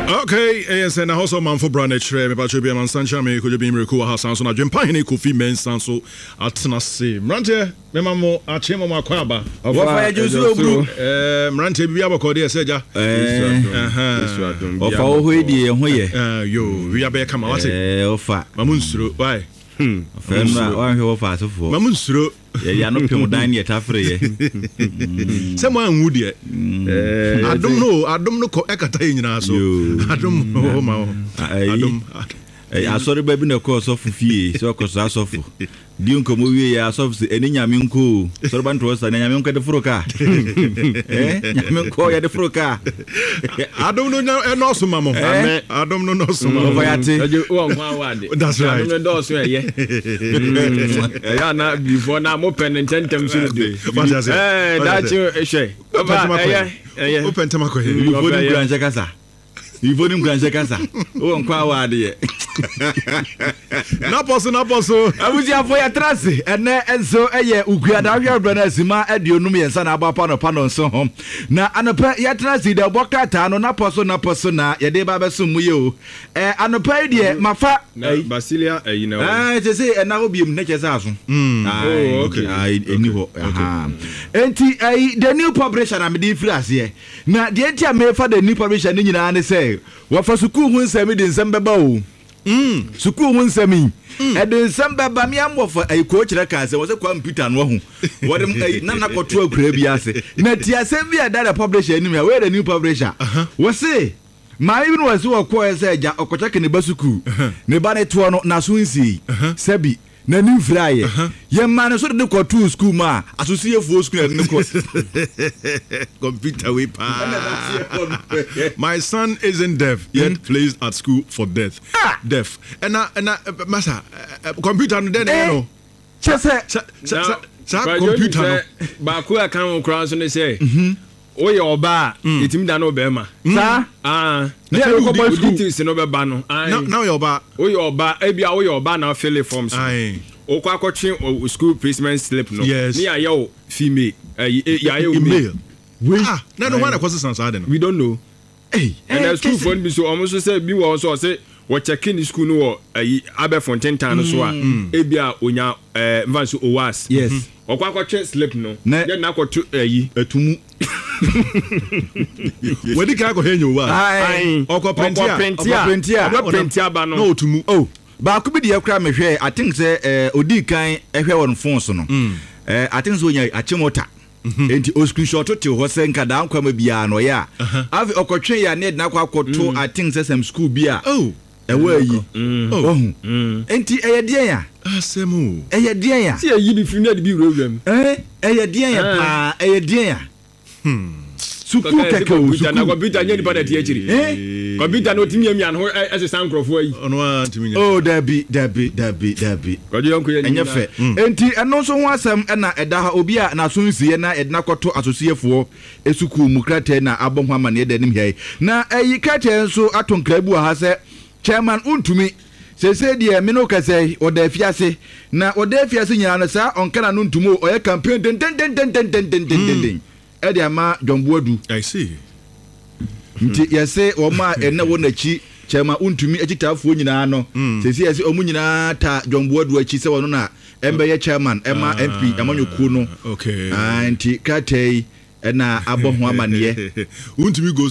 Okay, ɛyɛ sɛ na hɔ sɛ ɔmanfo bra na ɛkyerɛ mepakyɛ bi amansa nkyɛn me kodwo bi mmerɛku wɔ ha san so na adwempa hene Kofi Mensah nso atena se mmeranteɛ mema mo akye mo akɔ aba. Wɔfa yɛ dwonso oburu. Ɛɛ mmeranteɛ bibi abɔkɔ deɛ sɛ agya. Ɔfa wɔ hɔ yi deɛ yɛn ho yɛ. Yo wia bɛyɛ kama wate. Ɔfa. Ma mo nsuro why. Ɔfa nnura wanhwɛ wɔfa asefoɔ. Ma mo nsuro. Yɛde ano pem dan ne yɛtafere yɛ. Sɛ mo anwu deɛ. Adom no adom no kɔ ɛkata yɛ nyinaa so. Adom wɔ ma wo. Adom. Asɔre ba bi na ɛkɔ ɔsɔfo fie sɛ ɔkɔsra asɔfo. Di nkɔmmɔ wie yɛ asɔfo sɛ ɛne nyame nkɔ o. Sɔre ba ntoɔ sa na nyame nkɔ de foro kaa. Nyame nkɔ yɛde foro kaa. Adom no ɛnɔɔso ma mo. Adom no nɔɔso ma mo. Ɔfa yate. Wɔ nkwa wɔ ade. That's right. Adom no dɔɔso ɛyɛ. Ɛyɛ ana bifoɔ na mo pɛ ne ntɛntɛm so de. Ɛɛ daakye hwɛ. Ɔfa ɛyɛ ɛyɛ. Wopɛ ntɛm akɔ yɛ. Bifoɔ ni nkura nhyɛ kasa. Bifoɔ ni nkura nhyɛ kasa. Wɔ nkwa wɔ adeɛ. Napɔ so napɔ so. Abusuafo yɛtra ase ɛnɛ nso ɛyɛ Ukuada ahwɛ berɛ no asima 53 na abɔ apa nɔpa no nso ho. Na anɔpa yɛtena ase dɛ bɔ krataa no napɔ so napɔ so na yɛde ba abɛsom mu yɛ o. Ɛ anɔpa yi deɛ mafa. Na Basilia ayi na wɔ. Ɛɛ sɛ sɛ ɛna hɔ biem ne kyɛ sɛ aso. Oh okay. Ɛni hɔ. Enti ɛyi the new publisher na mede firi aseɛ. Na deɛ nti a mefa the new publisher ne nyinaa ne sɛ wɔfa sukuu ho nsɛm de nsɛm bɛba o. Sukuu ho nsɛm yi, ɛde nsɛm bɛba. Me amɔfo ayi koo kyerɛ kaa sɛ wɔsɛ Kwame Peter no ahu. Wɔde ayi na nakɔto akuraa bi ase. Na ti asɛm bi a ɛda the publisher anim ha, wei the new publisher. Wɔse maame bi no wɔse wɔkɔɛ sɛ agya ɔkɔkyɛke ne ba sukuu. Ne ba ne toɔ no n'aso nsii. Sɛbi n'ani mfiraeɛ. Yɛmaa no so de no kɔtoo sukuu mu a asosiefoɔ sukuu na yɛde no kɔ. Computer wei paa. My son isn't deaf yet placed at school for death. Ah! Deaf. Ɛna ɛna masa computer no dɛn na ɛyɛ no? Kyɛ sɛ. Sɛ saa computer no. Baako a ɛka ho koraa nso ne sɛ. Woyɛ ɔbaa a, yɛtumi dane wo bɛrima. Saa? Ah. Ne yɛde kɔ boys school. Details no bɛba no. Na na woyɛ ɔbaa. Woyɛ ɔbaa, ebia woyɛ ɔbaa na wafele forms no. Wokɔ akɔtwe school placement slip no. Yes. Ne yɛayɛ wo female. Ɛyi, yɛayɛ wo male. Wei. Ah, na ɛno hwan na ɛkɔsesa saa ade no? We don't know. Ei. Ɛna sukuufoɔ no bi nso, wɔn nso sɛ bi wɔ hɔ nso ɔse wɔkyɛke ne sukuu no wɔ ayi abɛɛfo ntentan no so a, ebia onya ɛɛ nfa nso OWAS. Yes. Ɔkɔ akɔtwe slip no, Na yɛ na akɔto ayi. Ɛto mu. Wadi kan akɔhwɛ nya OWAS. Ae. Ɔkɔ printe a. Ɔkɔ printe a. Ɔkɔ printe a. Ɔbɛ printe aba no. Na ɔto mu. Oh, baako bi deɛ koraa mehwɛɛ, I think sɛ ɛɛ odii kan ɛhwɛ wɔ ne phone so no, ɛɛ I think sɛ onya Achimota. Enti o screenshot tew hɔ sɛ nka daa nkwama biara no ɔyɛ a. Afei ɔkɔtwe yɛ a na yɛde no akɔ akɔto I think sɛ some school bi a ɛwɔ ayi. Wahu? Enti ɛyɛ deɛn a? Asɛm o. Ɛyɛ deɛn a? Sɛ yɛyi bi firi mu na yɛde bi wurawura mu. Ɛɛ, ɛyɛ deɛn a paa? Ɛyɛ deɛn a? Sukuu kɛkɛ o, sukuu. Na kɔmputa nyɛ nipa na ɛte akyiri. Kɔmputa no otumi miamia ne ho ɛsesa nkurɔfoɔ ayi. Ɔno ara ntumi nyɛ. Oh dabi dabi dabi dabi. Kwadwo yɔnko yɛ Ɛnyɛ fɛ. Enti ɛno nso ho asɛm na ɛda ha. Obi a n'aso nsiiɛ na yɛde no akɔto asosiyɛfoɔ sukuu mu krataa na abɔ ho amanneɛ da anim ha yi. Na ayi krataa nso ato nkra bi wɔ ha sɛ Chairman wontumi. Seesei deɛ me ne wo kasa yi, ɔda afiase. Na ɔda afiase nyinaa no saa ɔnka n'ano ntom o, ɔyɛ campaign dendendendendendendenden ɛde ama John Boadu. I see. Nti yɛse wɔn a ɛnɛ wɔ n'akyi Chairman wontumi akyitaafoɔ nyinaa no, seesei yɛse wɔn nyinaa ta John Boadu akyi sɛ ɔno na ɛmbɛyɛ chairman ɛma MP amanyɔkuo no. Okay. Ah, nti krataa yi ɛna abɔ ho amaneɛ. Wontumi goes.